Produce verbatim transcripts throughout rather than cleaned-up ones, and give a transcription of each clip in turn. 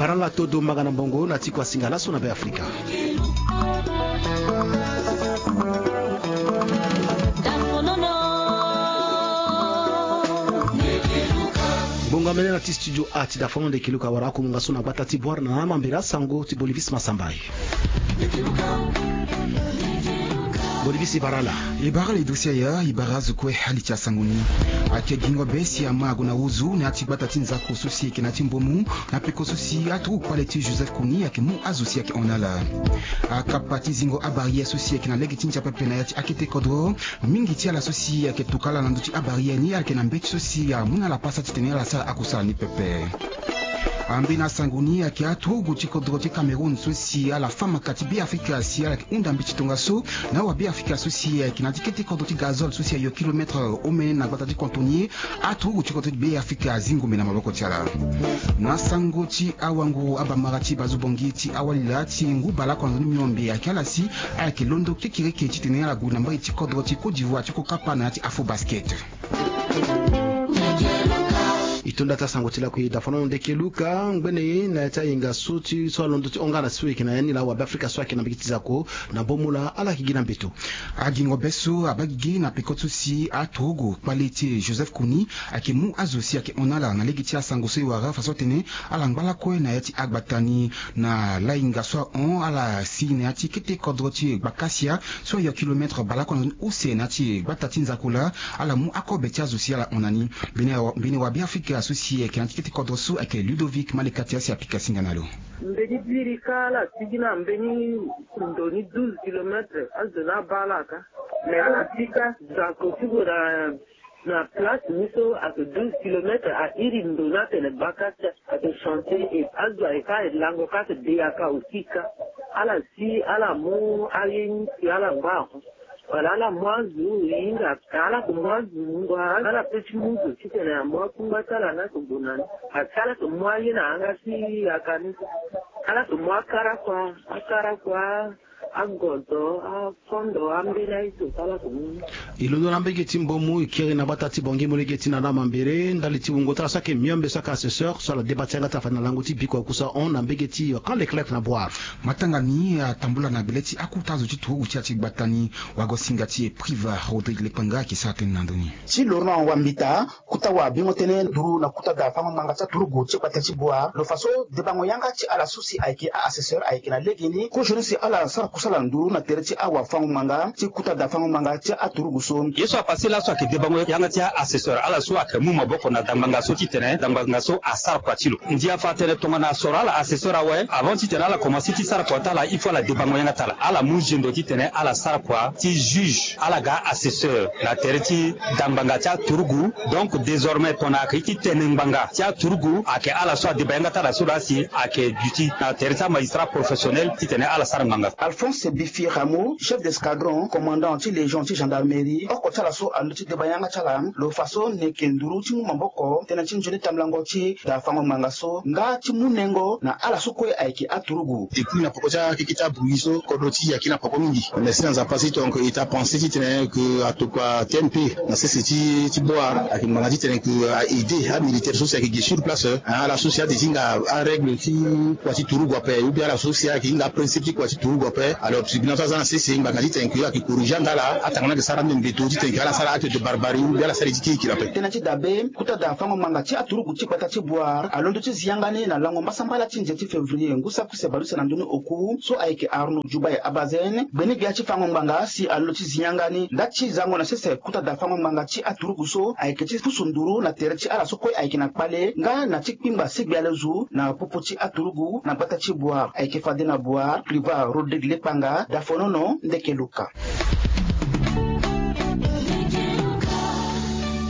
Bara la todo mbanga na mbongo na ti kua singa laso na Be Afrika. Bongo amene na ti studio a ti dafono ndeke luka wara akumunga so na gbata ti Bouar na na mambela sango ti Boniface Massamba. Boniface, e bara ala. E bara ala e dosi aya, e bara azo kue. Ali ti asango ni. Ayeke gingo be si ama ague na ozu na ya ti gbata ti nzako so si ayeke na ya ti mbomu, na peko so si aturugu kpale ti Joseph Kony ayeke mu azo si ayeke hon na ala. Akapa ti zingo abarrière so si ayeke na lege ti ndia pepe na ya ti akete kodro. Mingi ti ala so si ayeke tokua ala na ndö ti abarrière ni, ala yeke na mbeti so si amu na ala pasa titene ala sara akusala ni pepe. Ambeni asango ni ayeke aturugu ti kodro ti Cameroun so si ala fa maka ti Be Afrika si ala yeke hunda mbeti tongaso na awa Be Afrika so si ayeke na ti kete kodro ti gazole so si ayo kilometre omene na gbata ti Cantonnier. Aturugu ti kodro ti Be Afrika azi ngombe na maboko ti ala. Na sango ti awanguru abamara ti bazo bongi ti awalila ti ngu baleoko na ndoni miombe ayeke ala si ayeke londo kekereke titene ala gue na mbage ti kodro ti Côte d'Ivoire ti kokapa na ya ti Afrobasket. E to nda ti asango ti lakui dafono ndeke luka ngbene na ya ti ahinga so ti so alondo ti hon nga na si so e yeke na ya ni laa wa Be Afrika so ayeke na mbage ti zako na mbomu laa ala yeke gi na mbeto. Agingo be so abaa gigi na peko so si aturugu kpale ti Joseph Kony ayeke mu azo si ayeke hon na ala na lege ti asango so e wara faso atene ala ngba lakue na ya ti agbata ni. Na lahinga so ahon ala si na ya ti kete kodro ti gbakasia so ayo kilometre baleoko na use na ya ti gbata ti nzako laa ala mu akobe ti azo si ala hon na ni. Mbeni wa Be Afrika so si ayeke na ya ti kete kodro so ayeke Ludovic Maleka ti asi apika singa na lo. Mbeni biri kâ ala sigi na mbeni ndo ni douze kilomètre azo ni abaa ala kâ. Mais ala sigi kâ zako ti gue na na place ni so ayeke douze kilomètre a iri ndo ni atene bakasia ayeke chantier e azo ayeke kâ e lango kâ ayeke de yaka aussi kâ. Ala si ala mu aye ni si ala ngba ahon. Wala ala mu azo e hinga ala yeke mu azo ngba ala pe ti mu zo titene amu akungba ti ala ni ayeke gue na ni. Asi ala yeke mu aye na yanga ti yaka ni. Ala yeke mu akara kua akara kua agozo afondo ambeni aye so ti ala yeke mu ni. E londo na mbage ti mbomu e kiri na gbata ti bongi molenge ti nana mambere ndali ti wungo ti ala so ayeke miombe so ayeke assesseur so ala deba ti yanga ti ala fade na lango ti biko akusa hon na mbage ti Camp Leclerc na Bouar. Matanga ni atambula na gbele ti akota zo ti turugu ti ya ti gbata ni. Wagosinga ti e Priva Rodrigue Lepanga ayeke sara tënë na ndö ni. Ti lo na wambita kota wabingo tënë nduru na kota da fango ngbanga ti aturugu ti gbata ti Bouar lo fa so debango yanga ti ala so si ayeke a-assesseur ayeke na legeni kozoni si ala sara kusala nduru na tere ti awafango ngbanga ti kota da fango ngbanga ti aturugu so. Ye so apase laso ayeke debango yanga ti a-assesseur ala so ayeke mu maboko na dangbanga so titene dangbanga so asara kua ti lo. Ndia fa tënë tongana soro ala assesseur awe avant titene ala komanse ti sara kua ti ala il faut ala debango yanga ti ala ala mu zendo titene ala sara kua ti juge ala ga assesseur na tere ti dangbanga ti aturugu. Donc désormais pona ayeke ye ti tene ngbanga ti aturugu ayeke ala so adeba yanga ti ala so laa si ayeke duti na tere ti amagistrat professionnel titene ala sara ngbanga. Alphonse Bifi Rameau chef d'escadron commandant ti légion ti gendarmerie oko ti ala so alondo ti deba yanga ti ala lo fa so ni yeke nduru ti mu maboko tënë ti nzoni tambulango ti da fango ngbanga so nga ti mu nengo na ala so kue ayeke aturugu. Depuis na poko ti akeke ti abruit so kodro ti e ayeke na poko mingi. Mais si na Nzapa si donc e ta pensé titene ke atokua T M P na sese ti ti Bouar ayeke ngbanga titene ke a aider amilitaire so si ayeke gi sur place, hein, ala so si ade ti hinga arègle ti kua ti turugu ape ou bien ala so si ayeke hinga aprincipe ti kua ti turugu ape. Alors tribunal so aza na sese ngbanga titene ke ayeke corriger anga ala atanga ni ayeke sara ande mbeto titene ke ala sara acte de barbarie ou bien ala sara ye ti kirikiri ape. Tënë ti dabe kota da fango ngbanga ti aturugu ti gbata ti Bouar alondo ti zi yanga ni na lango mbasambala ti nze ti février ngu saki use baleuse na ndoni oku so ayeke Arnaud Djoubaye Abazène gbe ni gbia ti fango ngbanga si alondo ti zi yanga ni nda ti zango na sese kota da fango ngbanga ti aturugu so ayeke ti pusu nduru na tere ti ala so kue ayeke na kpale nga na ti kpingba sigbi alezu na popo ti aturugu na gbata ti Bouar ayeke fade na Bouar Priva Rodrigue Lepanga dafonono ndeke luka.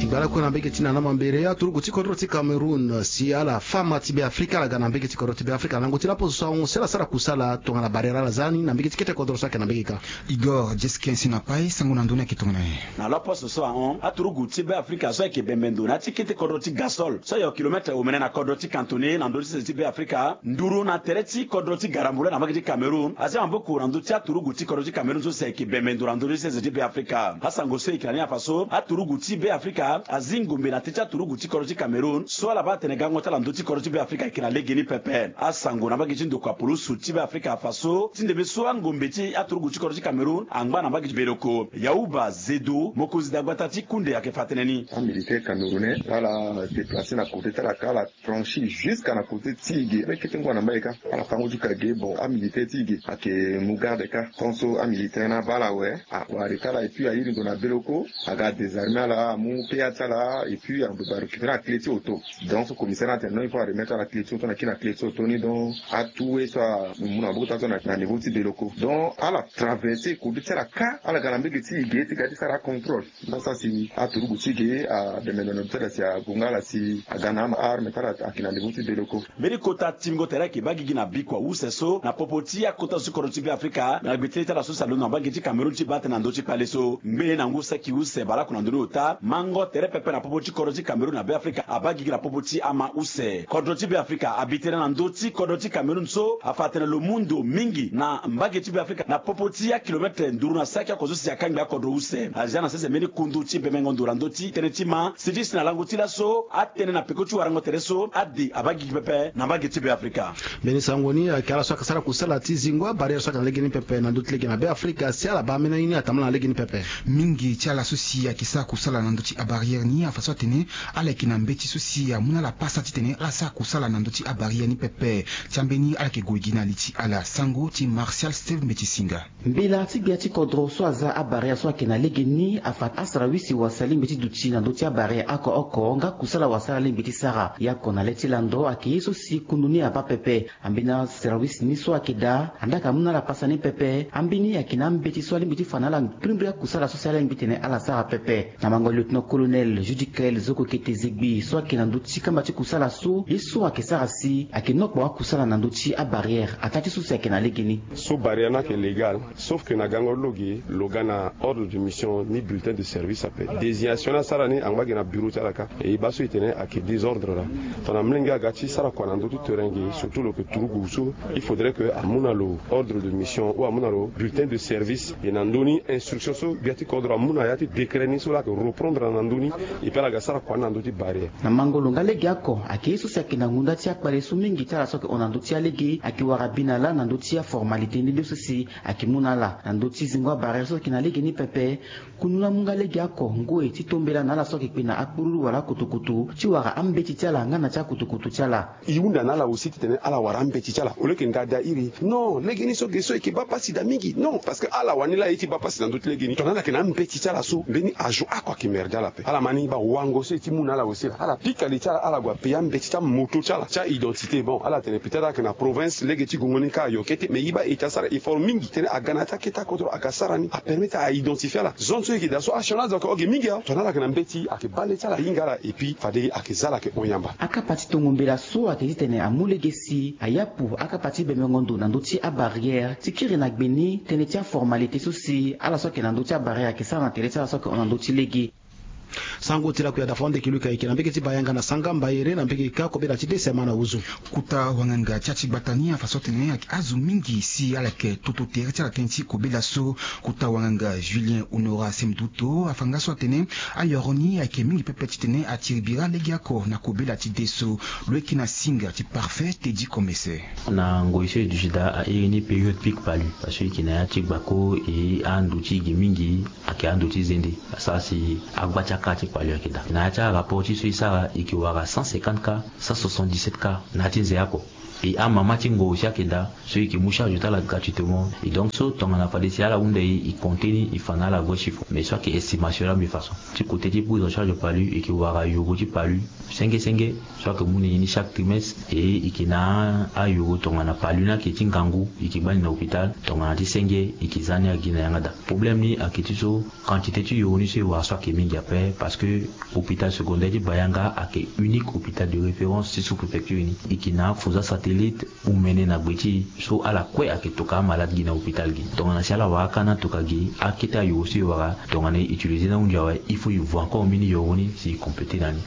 E gbala kue na mbege ti nana mambere aturugu ti kodro ti Cameroun si ala fama ti Be Afrika ala ga na mbege ti kodro ti Be Afrika na lango ti laposo so ahon si ala sara kusala tongana barrière ala za ni na mbege ti kete kodro so ayeke na mbege kâ. Igor Jesken si na pai sango na ndö ni ayeke tongana nyen? Na laposo so ahon aturugu ti Be Afrika so ayeke bembe ndo na ya ti kete kodro ti Gasol so ayo kilometre omene na kodro ti Kantone na ndö ti sese ti Be Afrika nduru na tere ti kodro ti Garambula na mbage ti Cameroun azi maboko na ndö ti aturugu ti kodro ti Cameroun so si ayeke bembe ndo na ndö ti sese ti Be Afrika. Asango so e yeke na ni afa so aturugu ti Be Afrika azi ngombe na teti aturugu ti kodro ti Cameroun so ala baa atene gango ti ala na ndö ti kodro ti Beafrika ayeke na legeni pepe. Asango na mbage ti ndokua pulusu ti Beafrika afa so ti ndembe so angombe ti aturugu ti kodro ti Cameroun angba na mbage ti Beloko. Yauba Zedo, mokonzi dagbata ti kunde, ayeke fa tënë ni. Amilitaire camerounais ala déplacer na côté ti ala ka, ala franchir jusqu'à na côté ti e ge. Ala kete ngu na mbage ka, ala fa ngu ti ka ge. Bon, amilitaire ti e ge ayeke mu garde ka. Tant so amilitaire ni abaa ala awe, awari ka ala et puis airi ndo na Beloko, aga désarmer ala, amu P A ti ala, et puis ando ba récupérer aclé ti auto. Donc so commissaire ni atene non, il faut aremettre ala clé ti auto na kiri na clé ti auto ni. Donc atu we so amu na maboko ti ala so na, na niveau ti Beloko. Donc ala traverser côté ti ala ka, ala ga na mbage ti e ge ti ga ti sara acontrôle. Nda sara si aturugu ti e ge abembe na ndo ti ala si agonga ala si aga na aarme ti ala ayeke na niveau ti Beloko. Mbeni kota timbingo tere ayeke baa gigi na bikua use so na popo ti akota zo ti kodro ti Beafrika na gbe ti lê ti ala so si alondo na mbage ti Cameroun ti baa tënë na ndö ti kpale so. Ngbene na ngu saki use baleoko na ndö ni ota, mango tere pepe na popo ti kodro ti Cameroun na Beafrika abaa gigi na popo ti ama use. Kodro ti Beafrika abi tënë na ndö ti kodro ti Cameroun so afa atene lo mu ndo mingi na mbage ti Beafrika na popo ti akilometre nduru na saki oko so si akangbi akodro use. Azia na sese mbeni kundu ti bemengo ndo na ndö ti tënë ti ma si ti si na lango ti laso atënë na peko ti warango tere so ade abaa gigi pepe na mbage ti Beafrika. Mbeni sango ni ayeke ala so ayeke sara kusala ti zingo abarrière so ayeke na legeni pepe na ndö ti lege na Beafrika si ala baa ambeni aye ni atambula na legeni pepe. Mingi ti ala so si ayeke sara kusala na ndö ti abarrière ni afa so atene ala yeke na mbeti so si amu na ala pasa titene ala sara kusala na ndö ti abarrière ni pepe. Ti ambeni ala yeke gue gi na li ti ala. Sango ti Martial Steve Mbeti Singa. Mbela ti gbia ti kodro so aza abarrière so ayeke na lege ni afa asarawisi wasa alingbi ti duti na ndö ti abarrière oko oko nga kusala wasa ala lingbi ti sara. Ya oko na le ti lando ayeke ye so si kundu ni abaa pepe. Ambeni asarawisi ni so ayeke daa anda ayeke amu na ala pasa ni pepe. Ambeni ayeke na ambeti so alingbi ti fa na ala mbirimbiri akusala so si ala lingbi titene ala sara pepe. Na mango lieutenant-colonel Judicaël Zokokete Zegbi so ayeke na ndö ti kamba ti kusala so ye so ayeke sara si ayeke nokpo akusala na ndö ti abarrière ataa ti so si ayeke na lege ni. So barrière ni ayeke légal, sauf que na gango ti lo ge lo ga na ordre de mission ni bulletin de service ape. Désignation ni asara ni angba ge na bureau ti ala ka. E baa so e tene ayeke désordre laa. Tongana molenge aga ti sara kua na ndö ti terrain ge, surtout lo yeke turugu so, il faudrait que amu na lo ordre de mission ou amu na lo bulletin de service. E na ndö ni instruction so gbia ti kodro amu na ya ti décret ni so laa ayeke reprendre na ndö ni. E pe ala ga sara kua ni na ndö ti barrière. Na mango lo nga legeoko ayeke ye so si ayeke na ngonda ti akpale so mingi ti ala so ayeke hon na ndö ti alege ayeke wara bi na lâ na ndö ti aformalité ni nde so si ayeke mu na ala na ndö ti zingo abarrière so ayeke na lege ni pepe. Kundu ni amu nga legeoko ngoi ti tombela na ala so ayeke kpe na akpururu wala akutukutu ti wara ambeti ti ala nga na ti akutukutu ti ala. E hunda na ala aussi titene ala wara ambeti ti ala. Au lieu que nda daa iri, non, lege ni so ge so e yeke baa pasi daa mingi. Non, parce que ala wani laa e ye ti baa pasi na ndö ti lege ni. Tongana ala yeke na ambeti ti ala so, mbeni azo oko ayeke merde ala ape. Ala ma ni baa wango so e ye ti mu na ala aussi laa. Ala pika li ti ala, ala gue apayer ambeti ti amoto ti ala ti a-identité. Bon, ala tene peut-être ala yeke na province, lege ti gongo ni ka ayo kete, mais e baa e ti asara effort mingi titene aga na ya ti akete akodro aga sara ni, apermettre a-identifier ala. Zone so e yeke daa so asioni azo ayeke hon ge mingi awe. Tongana ala yeke na mbeti, ayeke baa le ti ala ahinga ala, et puis fade ayeke za ala ayeke hon yamba. Akapa ti tongo mbela so ayeke titene amu lege si ayapu akapa ti bemengo ndo na ndö ti abarrière ti kiri na gbe ni tënë ti aformalité so si ala so ayeke na ndö ti abarrière ayeke sara na tere ti ala so ayeke hon na ndö ti lege. Sango ti lakue adafa wande kiluka eke na mbege ti Bayanga na Sangamba ere na mbege ka kobela ti dese ma na wuzu. Kota wanganga ti ati gbata ni afa so atene ayeke azo mingi si ala yeke toto tere ti ala tënë ti kobela so. Kota wanganga Julien Honora Semduto afa nga so atene ayoro ni ayeke mingi pepe titene atiri bira legeoko na kobela ti de so. Lo yeke na singa ti Parfait Teddy Komese. Na ngoi so e duti daa a iri ni période pic palu parce que e yeke na ya ti gbako e ando ti e ge mingi. Ayeke ando ti zende asara si agba ti akara ti kpali ayeke daa na ya ti arapport ti so e sara e yeke wara cent cinquante cas, cent soixante-dix-sept cas na ya ti nze oko. E amama ti ngo aussi ayeke daa so e yeke mu charge ti ala gratuitement. E donc so tongana fade si ala hunda e e compter ni e fa na ala vrai chiffre mais so ayeke estimation la même façon. Ti côté ti prise en charge palu e yeke wara yoro ti palu senge senge so ayeke mu na e ni chaque trimestre. E e yeke na ayoro tongana palu ni ayeke ti ngangu e yeke baa ni na hôpital tongana ti senge e yeke za ni agi na yanga daa. Problème ni ayeke ti so quantité ti yoro ni so e wara so ayeke mingi ape parce que hôpital secondaire ti Bayanga ayeke unique hôpital de référence ti sous-préfecture ni. E yeke na afuza satellite omene na gbe ti e so ala kue ayeke toka amalade gi na hôpital gi. Tongana si ala wara aka ni atoka gi akete ayoro so e wara tongana e utiliser ni ahunzi awe il faut e vo encore mbeni yoro ni si e compléter na ni.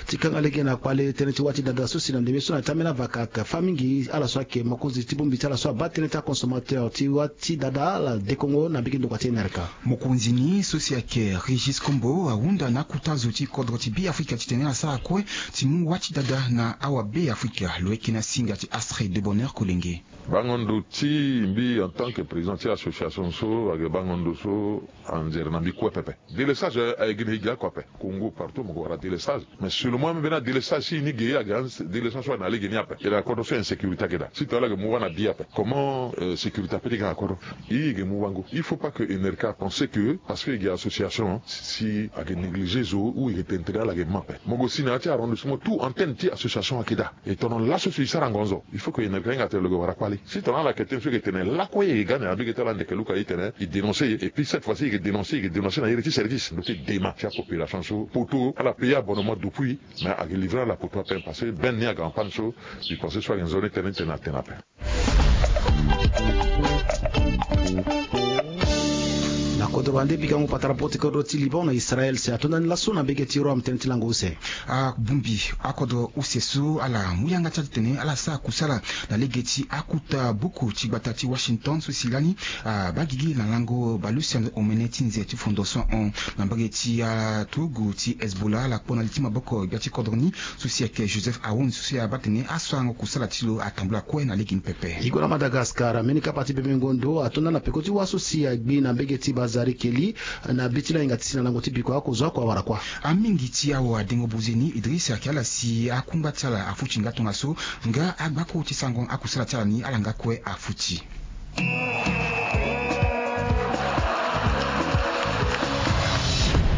Ti kanga lege na kpale tënë ti wâ ti dada so si na ndembe so na ti ambeni avaka ake fâ mingi ala so ayeke mokonzi ti bongbi ti ala so abaa tënë ti aconsommateur ti wâ ti dada ala dekongo na mbege ndokua ti N R K. Mokonzi ni so si ayeke Régis Kombo ahunda na akota zo ti kodro ti Beafrika titene ala sara kue ti mu wâ ti dada na awa Beafrika. Lo yeke na singa ti Astrid de Bonheur Kolenge. Bango ndo ti mbi en tant que président ti association so ayeke bango ndo so anzere na mbi kue pepe. Délestage aye gi na e gi oko ape. Congo partout mo ko wara délestage. Mais seulement ambeni adélestage si ni ge ayeke délestage so ayeke na lege ni ape. E na kodro so insécurité ayeke daa. Si tongana ala yeke mu wâ na bi ape, comment sécurité ape ti ga na kodro? I yeke mu wâ ngo. Il faut pas que N R K pense que parce que e gi association si ayeke négligé zo ou e yeke tene tene ala yeke ma ape. Mo ko si na ya ti arrondissement tout antenne ti association ayeke daa. E tongana laso so e sara ngonzo, il faut que N R K hinga atene lo yeke wara kpale. Si tongana ala yeke tene so e yeke tene lakue e yeke ga na ya mbege ti ala ndeke luka e tene e dénoncer e. Et puis cette fois ci e yeke dénoncer e yeke dénoncer na iri ti service. Lo ti dema ti apopulation so poto ala payer abonnement depuis. Mais ayeke livrer ala poto ape parce que benne ni ayeke en panne so. Mbi pense so ayeke nzoni tënë ti tene atene ape. Na kodro wande pikango patara poro ti kodro ti Liban na Israël si ato ndani laso na mbege ti Rome tënë ti lango use. Abongbi akodro use so ala mu yanga ti ala titene ala sara kusala na lege ti akota buku ti gbata ti Washington so si lani abaa gigi na lango baleuse omene ti nze ti fondation hon na mbage ti aturugu ti Hezbollah ala kpo na li ti maboko gbia ti kodro ni so si ayeke Joseph Aoun so si abaa tene asarango kusala ti lo atambula kue na lege ni pepe. E gue na Madagascar, mbeni kapa ti bembengo ndo ato ndani na peko ti wâ so si agbi na mbege ti Bazari Keli na be ti lahinga ti si na lango ti bikua oko zo oko awara kuâ. Amingi ti awadengo buze ni Idriss ayeke ala si akungba ti ala afuti nga tongaso nga agbako ti sarango akusala ti ala ni ala nga kue afuti.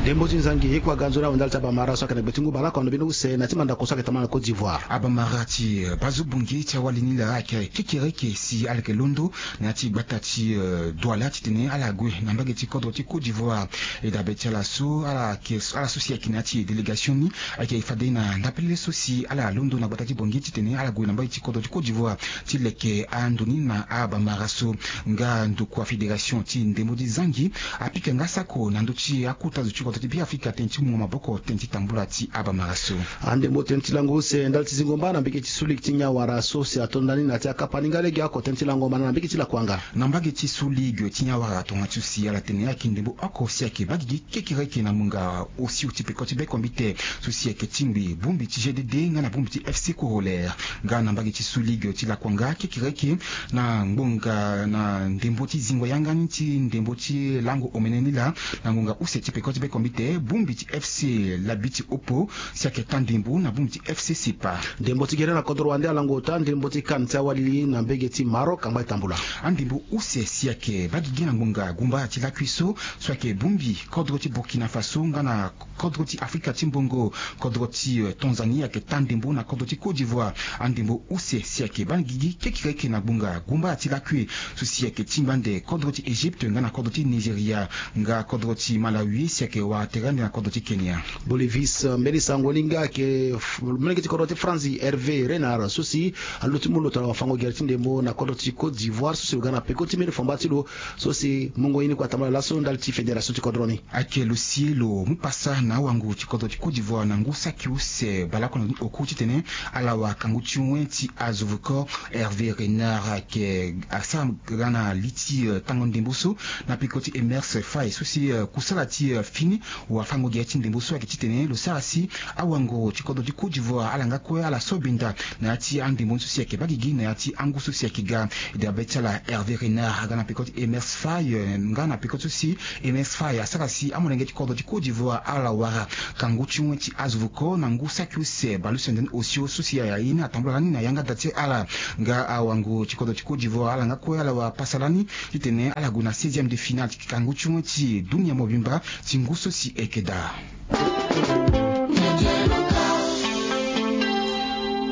Ndembo ti Nzangi e kua ga nzoni awe ndali ti abamara so ayeke na gbe ti ngu bale oko na ndö mbeni use na ti mandako so ayeke tambula na Côte d'Ivoire. Abamara ti bazo bongi ti awali ni laa ayeke kekereke si ala yeke londo na ya ti gbata ti Douala titene ala gue na mbage ti kodro ti Côte d'Ivoire. E dabe ti ala so ala yeke ala so si ayeke na ya ti délégation ni ayeke fade na ndapelele so si ala londo na gbata ti bongi titene ala gue na mbage ti kodro ti Côte d'Ivoire ti leke ando ni na abamara so. Nga ndokua fédération ti ndembo ti Zangi apika nga sako na ndö ti akota zo ti kodro ti Beafrika tënë ti mungo maboko tënë ti tambula ti abamara so. Andembo tënë ti lango use ndali ti zingo mba na mbage ti Sulik ti Nyawara so si ato ndani na ya ti akapa ni nga lege oko tënë ti lango mana na mbage ti Lakuanga. Na mbage ti Sulik ti Nyawara tongana ti so si ala tene ayeke ndembo oko si ayeke baa gigi kekereke na ngbonga osio ti peko ti bekombite so si ayeke tingbi bongbi ti G D D nga na bongbi ti F C Corollaire. Nga na mbage ti Sulig ti Lakuanga kekereke na ngbonga na ndembo ti zingo yanga ni ti ndembo ti lango omene ni laa na ngbonga use ti peko ti bekombite bongbi ti F C Labi ti Opo si ayeke taa ndembo na bongbi ti F C Sepa. Ndembo ti gere na kodro wande alango taa ndembo ti CAN ti awali na mbage ti Maroc angba e tambula. Andembo use si ayeke baa gigi na ngbonga gumbara ti lakui so so ayeke bongbi kodro ti Burkina Faso nga na kodro ti Afrika ti mbongo. Kodro ti Tanzanie ayeke taa ndembo na kodro ti Côte d'Ivoire. Andembo use si ayeke baa gigi kekereke na ngbonga gumbara ti lakui so si ayeke tingba ande kodro ti Égypte nga na kodro ti Nigeria. Nga kodro ti Malawi si ayeke wara tere ande na kodro ti Kenya. Bolivis mbeni sango ni nga ayeke molenge ti kodro ti France Hervé Renard so si alo ti mu lo tongana wafango gere ti ndembo na kodro ti Côte d'Ivoire so si lo ga na peko ti mbeni fomba ti lo so si mungo ye ni kue atambula laso ndali ti fédération ti kodro ni. Ayeke lo si lo mu pasa na awango ti kodro ti Côte d'Ivoire na ngu saki use baleoko na ni oku titene ala wara kangu ti wen ti azo voko. Hervé Renard ayeke asara ga na li ti tango ndembo so na peko ti Emerse Faye so si kusala ti fini wafango gere ti ndembo so ayeke titene lo sara si awango ti kodro ti Côte d'Ivoire ala nga kue ala so benda na ya ti andembo ni so si ayeke baa gigi na ya ti angu so si ayeke ga. Dabe ti ala Hervé Renard aga na peko ti Emerse Faye nga na peko ti so si Emerse Faye asara si amolenge ti kodro ti Côte d'Ivoire ala wara kangu ti wen ti azo voko na ngu saki use baleuse ndani osio so si aye ni atambula lani na yanga da ti ala. Nga awango ti kodro ti Côte d'Ivoire ala nga kue ala wara pasa lani titene ala gue na seizième de finale ti kangu ti wen ti dunia mobimba ti ngu so si eke daa.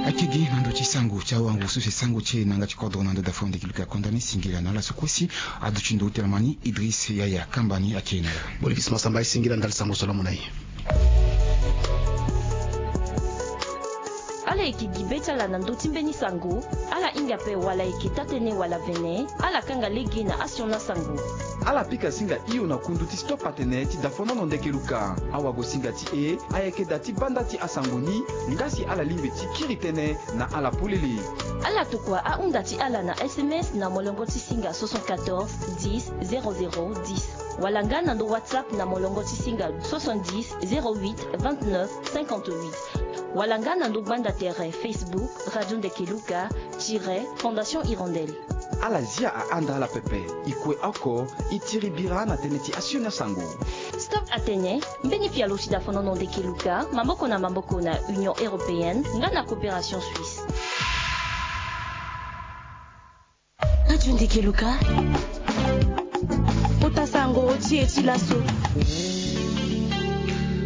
Ayeke gi na ndö ti sango ti awango so si sango ti e na yanga ti kodro na ndö dafo ndeki luka konda ni singila na ala so kue si aduti ndo tene ma ni Idriss Yaya Kamba ni ayeke na ala. Bolivis Masamba e singila ndali sango so laa mo na e. Ala yeke gi be ti ala na ndö ti mbeni sango. Ala hinga ape wala ayeke taa-tënë wala vene, ala kanga lege na asioni asango. Ala pika singa hio na kundu ti stop atene ti dafonono ndeke luka. Awagosinga ti e ayeke da ti banda ti asango ni. Nga si ala lingbi ti kiri tënë na ala polele. Ala tokua ahunda ti ala na S M S na molongo ti singa soixante-quatorze dix zéro zéro dix, wala nga na ndo WhatsApp na molongo ti singa soixante-dix zéro huit vingt-neuf cinquante-huit, wala nga na ndo gbanda tere Facebook Radio Ndeke Luka tiret Fondation Hirondelle. Ala zia ahanda ala pepe. E kue oko e tiri bira na tënë ti asioni asango. Stop atene mbeni pialo ti dafonono ndeke luka maboko na maboko na Union Européenne nga na Coopération Suisse. Radio Ndeke Luka, kota sango ti e ti laso.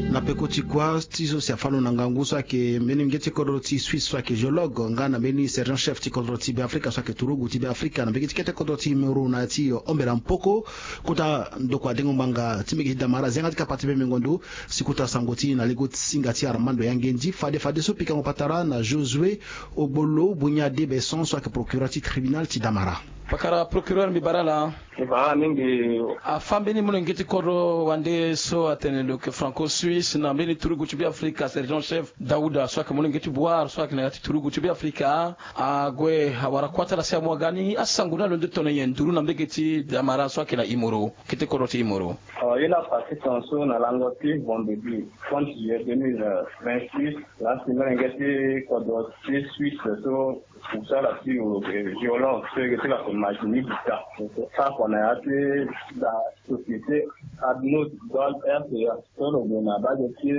Na peko ti kuâ ti so si afâ lo na ngangu so ayeke mbeni mingi ti kodro ti Suisse so ayeke géologue nga na mbeni sergent chef ti kodro ti Beafrika so ayeke turugu ti Beafrika na mbege ti kete kodro ti Imoro na ya ti Ombela Mpoko. Kota ndokua dengo ngbanga ti mbege ti Damara azi yanga ti kapa ti bembengo ndo si kota sango ti e na lego ti singa ti Armando Yangendi. Fade fadeso pikango patara na Josué Ogbolo Bunya Debeson so ayeke procureur ti tribunal ti Damara. Pakara procureur, mbi bara ala. Mbi bara mingi. Afâ mbeni molenge ti kodro wande so atene lo yeke franco-suisse na mbeni turugu ti Beafrika, sergent chef Daouda so ayeke molenge ti Bouar so ayeke na ya ti turugu ti Beafrika, ague awara kuâ ti ala si amu aga ni asango ni alondo tongana nyen nduru na mbege ti Damara so ayeke na Imoro, kete kodro ti Imoro. Awa, ye la partie tongaso na lango ti vendredi trente juillet deux mille vingt-six, la si molenge ti kodro ti Suisse so kusala ti lo, eh, violence so yeke ti la ko majini bita. Sara kua na ya ti la société Adnaud Gold R C A. So lo gue na bage ti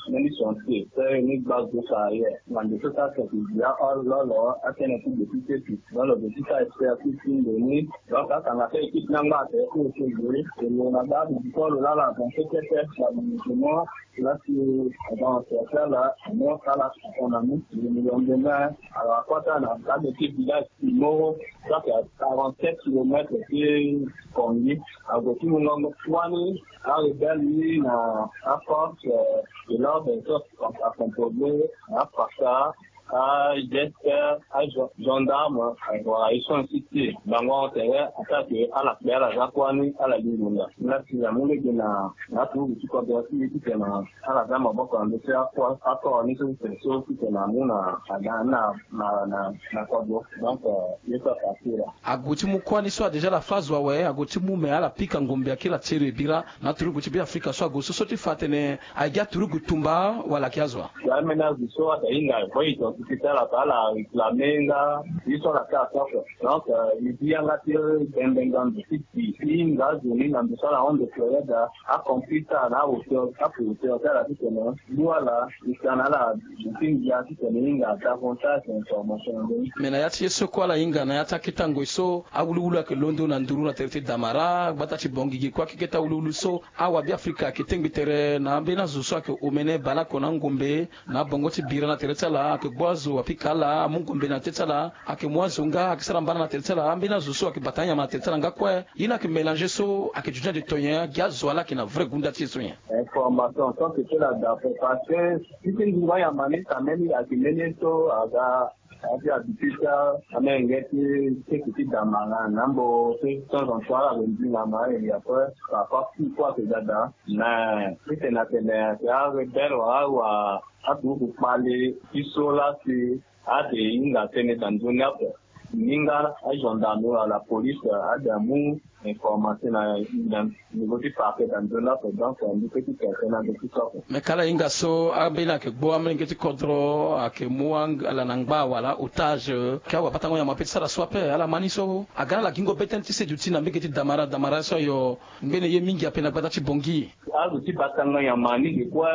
mbeni chantier so ni gba zo carrière. Ngandu so sara tene ti bia hors lolo atene ti député ti. Donc lo gue ti sara expertise ti ndo ni. Donc atanga so équipe ni angba atene ti ose gue. E lo na baa bidikolo laa la avancer kete na bidikolo. Là, c'est, bon, c'est ça, là, moi, ça, là, on a mis le million de mains. Alors, à quoi ça, là, dans le petit village, Imoro, ça, c'est à quarante-sept kilomètres de Kongi. Alors, tout le monde, Kwani, a rebelle, lui, na, a force, euh, de l'ordre, ça, à composer, à Faka, a J S R, a gen-, gendarme, voilà, ils sont ici. Bango atere attaque, ala kpe, ala za kuâ ni, ala lingbi nga. Nga si amu lege na, na aturugu ti kodro ti e titene ala za maboko na ndö ti akua, akua ni so titene so titene amu na, na, na, na, na, na kodro. Donc, euh, ye so afa ti e laa. Ague ti mu kuâ ni so adéjà ala fâ zo awe, ague ti mu me ala pika ngombe akiri atiere bira na aturugu ti Beafrika so ague so, so ti fa atene Aye gi aturugu tumba wala ayeke azo wa? Aménage so ayeke hinga, fo e identifié ti ala, ala réclamé nga ye so ala sara so ape. Donc, euh, e gi yanga ti bembe ngandu ti bi ti hinga azo ni na ndo so ala hon de fleuret daa, acomplice ti ala na ahauteur, apre hauteur ti ala titene lu ala, e tene ala, e ti ngia titene e hinga davantage information na ndö ni. Me na ya ti ye so kue ala hinga na ya ti akete ngoi so awuluwulu ayeke londo na nduru na tere ti Damara, gbata ti Bangui ge kue akeke ti awuluwulu so, Awabeafrika ayeke tengbi tere na ambeni azo so ayeke omene baleoko na angombe na abongo ti bira na tere ti ala, ayeke gbu azo apika ala, amu ngombe na tere ti ala, ayeke mu azo nga, ayeke sara mbana na tere ti ala, ambeni azo so ayeke bata anyama na tere ti ala nga kue. Ye ni ayeke mélanger so ayeke duti na ande to nyen, agi azo wa laa ayeke na vrai gunda ti e so nyen? Information so ayeke ti ala daa fo parce que ti ti nzungu anyama ni si ambeni ayeke mbeni ye so aga. Aye ti habitude ti amolenge ti sese ti Damara na mbo so ti temps en temps ala gue nzingama, et après parfois ti kue ayeke ga daa. Mais titene atene ayeke arebelle wala awa aturugu kpale ti so laa si ade hinga tënë daa nzoni ape. Ni nga agendarme wala police ade amu information na, na niveau ti parquet daa nzoni ape, donc mbi peut ti tene tënë na ndo ti so ape. Me ka ala hinga so ambeni ayeke gbu amolenge ti kodro ayeke mu ala na ngba wala otage, ke awabatango nyama ape ti sara so ape, ala ma ni so aga na ala gingo be tënë ti seduti na mbege ti Damara, Damara so ayo ngbene ye mingi ape na gbata ti Bangui. Azo ti batango nyama ni ge kue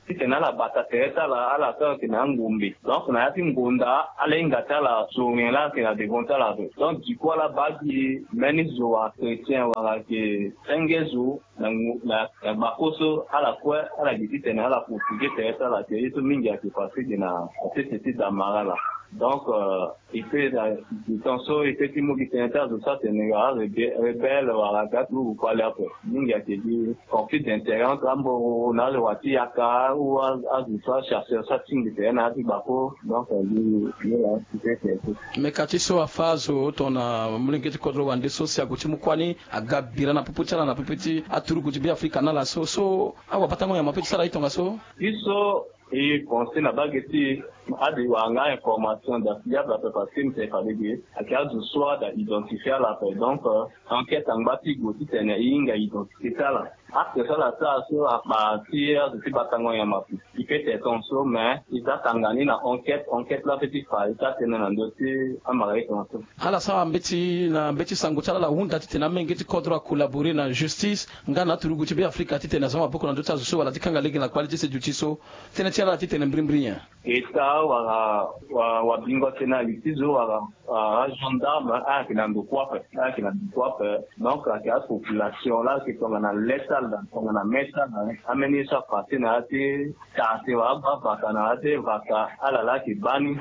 titene ala bata tere ti ala, ala sara ayeke na angombe. Donc na ya ti ngonda ala hinga ti ala so nyen laa ayeke na devant ti ala ape. Donc du coup ala baa gi mbeni zo achrétien wala ayeke senge zo na, na, na gbako so ala kue ala gi titene ala portuge tere ti ala, ayeke ye so mingi ayeke passé ge na sese ti Damara laa. Donc, euh, e peut na du temps so e peut ti mu gi tënë ti azo so atene ga arebelle wala ga turugu kpale ape. Mingi ayeke gi conflit d'intérêt entre amboro na alewa ti yaka ou azo so achercheur so atingbi tere na ya ti gbako. Donc, euh, gi gi la ti peut ti. Me ka ti so afa azo tongana molenge ti kodro wande so si ague ti mu kuâ ni aga bira na popo ti ala na popo ti aturugu ti Beafrika na ala so, so awabatango nyama peut ti sara e tongaso. Ti so e pense na bage ti e, ade wara nga information da fiable ape parce que mbi tene fade ge ayeke azo so ada identifier ala ape. Donc, euh, enquête angba ti gue titene e hinga identifier ti ala. Acte so ala sara so akpa ti azo ti batango nyama ape. E peut ti tongaso mais e za tanga ni na enquête, enquête la peut ti fa e za tënë na ndö ti amara e tongaso. Ala sara mbeti na mbeti sango ti ala, ala hunda titene amolenge ti kodro acollaborer na justice nga na aturugu ti Beafrika titene aza maboko na ndö ti azo so wala ti kanga lege na kpale ti seduti so. Tënë ti ala titene mbirimbiri nyen? État wala wa, wabingo tënë na li ti zo wala, ah, agendarme ayeke na ndo kue ape, ayeke na ndo kue ape. Donc ayeke apopulation la ayeke tongana le ti ala, tongana me ti ala, ambeni ye so apasse na ya ti tate wala agba vaka na ya ti vaka, ala la ayeke baa ni.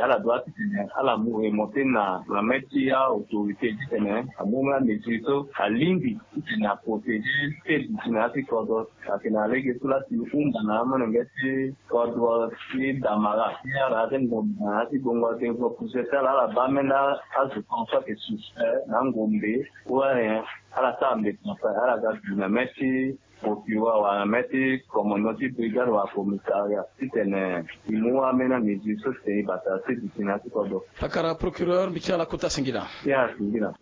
Ala doit titene ala mu remonter na, na main ti aautorité titene amu amesure so alingbi titene aprotéger seduti na ya ti kodro. Ayeke na lege so la si hunda na amolenge ti kodro ti Damara ti ala ti ngombe na ya ti gbongo atengo pousse ti ala, ala baa ambeni azo kan so ayeke suspect na ngombe ou rien. Ala sara mbeto na fa ala ga du na main ti procureur wala na main ti commandant ti brigade wala commissariat titene e mu ambeni amesure so titene e bata seduti na ya ti kodro. Fakara procureur, mbi ti ala kota singila. Ya singila.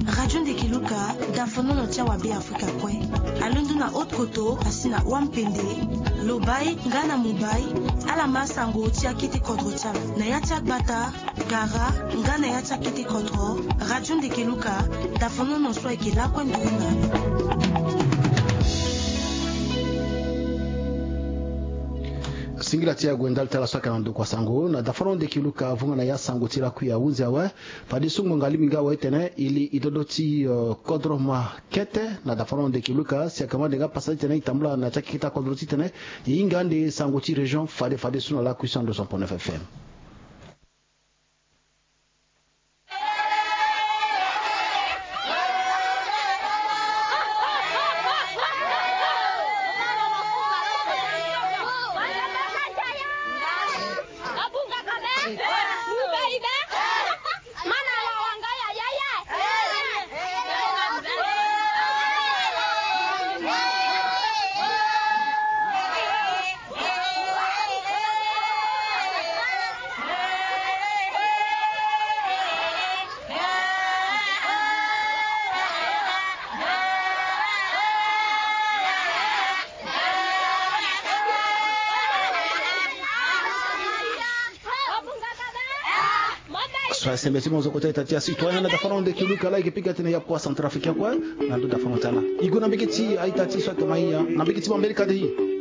Radio Ndeke Luka, dafonono ti awa Beafrika kue. Alondo na Haute-Kotto, asi na Wampende, Lobaye nga na Mobaye. Ala ma sango ti akete kodro ti ala na ya ti agbata, Gara nga na ya ti akete kodro. Radio Ndeke Luka, dafonono so ayeke lakue nduru na ala. Singila ti ague ndali ti ala so ayeke na ndokua sango na dafonono Ndeke Luka. Avunga na ya sango ti lakui ahunzi awe. Fadeso ngonga alingbi nga awe titene e li e dodo ti, euh, kodro ma kete na dafonono Ndeke Luka. Si ayeke ma nde nga pasa titene e tambula na ya ti akete kodro titene e hinga ande sango ti région fade fadeso na lakui so na ndo cent point neuf F M. So asembe ti mo zo kota ita ti acitoyen na dafono Ndeke Luka la, e yeke pika tene ya kua centrafricain kue. Na ndo dafono ti ala e gue na mbege ti a-ita ti so ayeke ma hia na mbege ti Bambereka de.